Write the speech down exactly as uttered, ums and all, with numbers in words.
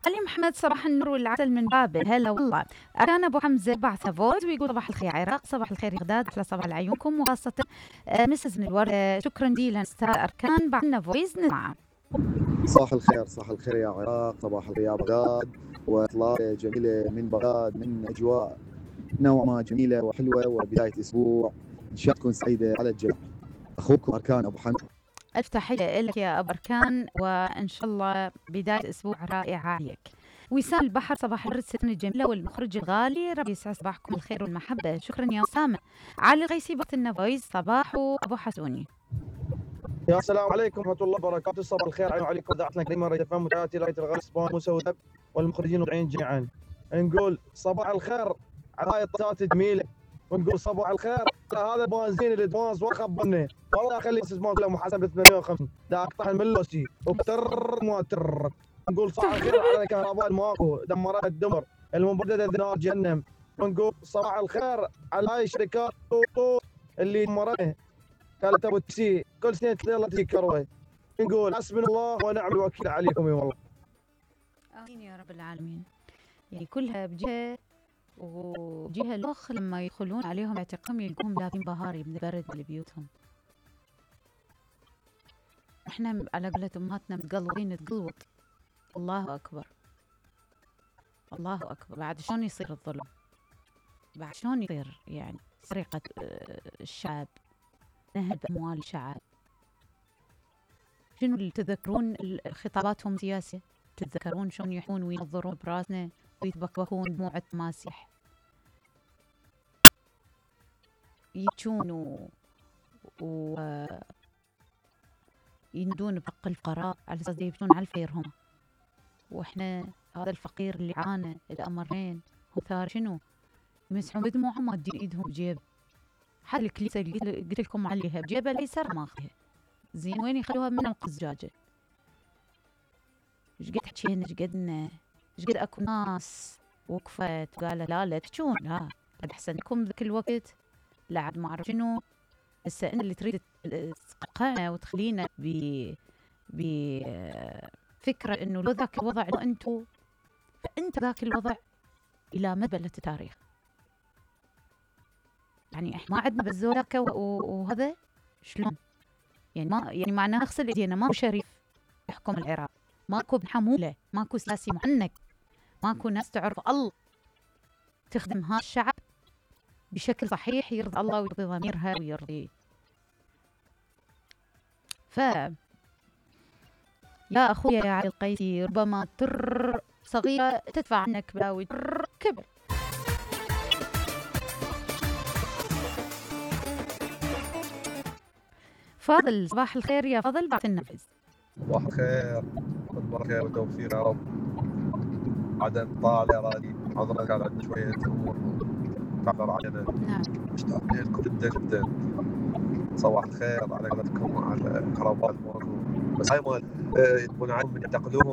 علي محمد صباح النور والعسل من بابل. هلا والله. أركان أبو حمزة بعث فويس ويقول صباح الخير عراق، صباح الخير غداد، أحلى صباح لعيونكم وخاصة آه مسز من الورد. آه شكرا جزيلا أستاذ أركان، بعثنا فويس نسمعه. صباح الخير، صباح الخير يا عراق، صباح الخير يا بغداد، وإطلالة جميلة من بغداد، من أجواء نوعا ما جميلة وحلوة وبداية أسبوع إن شاء الله تكون سعيدة على الجميع. أخوكم أركان أبو حمزة. ألف تحية لك يا أبو أركان، وإن شاء الله بداية أسبوع رائعة عليك. وسام البحر صباح الورد ستنا الجميلة والمخرج الغالي، ربي يسعد صباحكم الخير والمحبة. شكرا يا أسامة. علي الغيسي بعث فويس صباح أبو حسوني. يا السلام عليكم ورحمة الله وبركاته، صباح الخير عليكم إذاعتنا الكريمة راديو فم وتأتي رأيت الغالي سبان موسى ودب والمخرجين والمذيعين جميعا. نقول صباح الخير على هاي الطاقات الجميلة، ونقول صباح الخير على هذا البنزين اللي دماز وخبرني والله خلي اسمه كله محاسب ب ثمانمية وخمسين دا اقطع الملوسي وبتر ما تر. نقول صباح الخير على الكهرباء الماكو دمرت الدمر المبردة نار جهنم. ونقول صباح الخير على هاي الشركات اللي دمرتنا قالت ابو تسي كل سنه يلا تجي كروي. نقول حسبنا الله ونعم الوكيل عليكم. والله امين يا رب العالمين. يعني كلها بجهه وجهه الاخ لما يدخلون عليهم اعتقام يلقون لابين بهاري من البرد لبيوتهم. احنا على قولة امهاتنا متقلبين نتقلوط. الله اكبر الله اكبر. بعد شلون يصير الظلم؟ بعد شلون يصير يعني سرقه الشعب، نهب أموال الشعب؟ شنو اللي تذكرون خطاباتهم السياسية؟ تتذكرون شلون يحون وينظرون براسنا ويتبكبكون دموع التماسيح، يبكون و... و... يندون بحق الفقراء على أساس يبكون على الفقير هم. وإحنا هذا الفقير اللي عانى الأمرين هم ثار شنو؟ يمسحون بدموعهم ما تدي إيدهم بجيب. حال الكليسة اللي قلت لكم عليها بجيبها الأيسر ماخذها، زين وين يخلوها من القزجاجة؟ ايش قد حكينا، ايش قدنا، ايش قد اكو ناس وقفت وقالت لا لا تحجون، لا قد احسن لكم ذاك الوقت، لا عاد ما اعرف شنو. هسه انت اللي تريد تقعنا وتخلينا ب بفكرة انه لو ذاك الوضع لو انتو، فانت ذاك الوضع الى مدى التاريخ. يعني احنا ما عندنا بالزولاكة وهذا شلون؟ يعني ما يعني معناها نغسل ايدينا، ماكو شريف يحكم العراق، ماكو ابن حمولة، ماكو سياسي معنك، ماكو ناس تعرف الله تخدم هذا الشعب بشكل صحيح يرضي الله ويرضي ضميرها ويرضي. ف يا اخويا يا علي القيسي، ربما تر صغيرة تدفع عنك بلاوي تر كبر. فاضل صباح الخير يا فاضل بعد النفذ. صباح الخير والبركة والتوفيق يا رب. بعدين طالع يا رادي حضرنا كان عندنا شوية أمور تعبر علينا. نعم. مشتاق لكم جدا جدا. صباح الخير على قناتكم وعلى الكهرباء الماكو. بس هاي مال يبون عنهم من يعتقلوهم